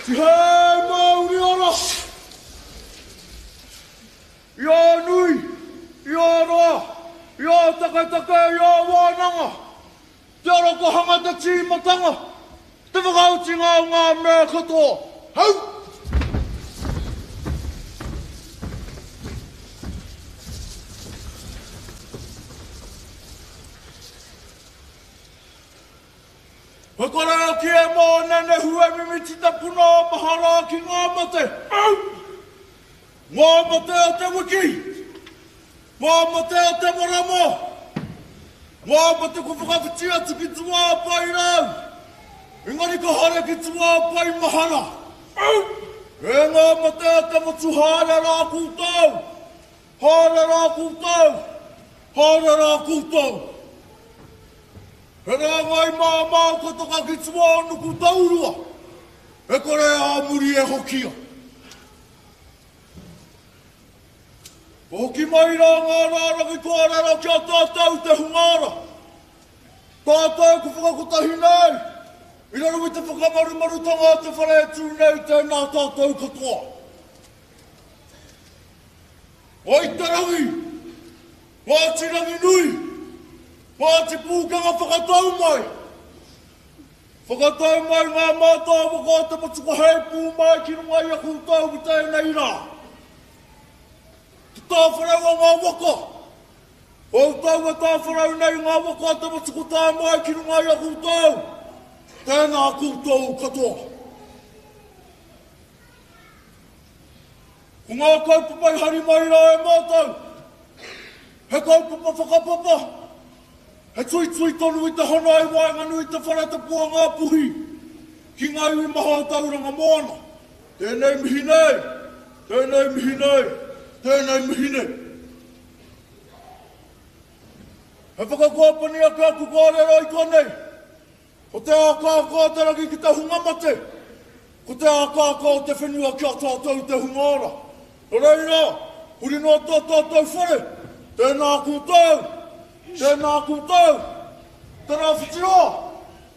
Tihei mauri ora! I ō nui, i ō roa, i ō taketake, i ō wānanga, te orokohanga, te tīmatanga, te whakaotinga o ngā mea katoa. Hau! He karakia e mōnenehu e mimiti te puna o mahara ki ngā mate. Au! Ngā mate o te wiki! Ngā mate o te marama! Ngā mate kua whakawhiti atu ki tua o paerau, engari ka haere ki tua o pae mahara. Au! E ngā mate o te motu haere rā koutou! Haere rā koutou! Haere rā koutou! He rāngai māmā kua taka ki tua o Nukutaurua, e kore ā muri e hokia. Ka hoki mai rā ngā rārangi kōrero ki a tātou te hunga ora. Tātou kua whakakotahi nei i raro i te whakamarumarutanga o te whare e tū nei tēnā tātou katoa. Wai te rangi! Ngāti Ranginui! Ngāti Pūkenga whakatau mai! Whakatau mai ngā mātāwaka o te motu kua heipū mai ki runga i a koutou i tēnei rā. Te tāwharau o ngā waka! Koutou e tāwharau nei ngā waka o te motu kua tae mai ki runga i a koutou. Tēnā koutou katoa. Ko ngā kaupapa i hari mai rā e mātou, he kaupapa whakapapa, he tuitui tonu i te hana i waenganui i te whare tapu o Ngāpuhi ki ngā iwi maha o Tauranga Moana. Tēnei mihi nei, tēnei mihi nei, tēnei mihi nei. He whakakoapani ake aku kōrero i konei. Ko te akaaka o te rangi ki te hunga mate, ko te akaaka o te whenua ki a tātou te hunga ora. Nō reira, huri noa tō tātou whare, tēnā koutou, tēnā koutou, te Rāwhiti roa,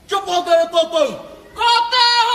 kia pātere tātou!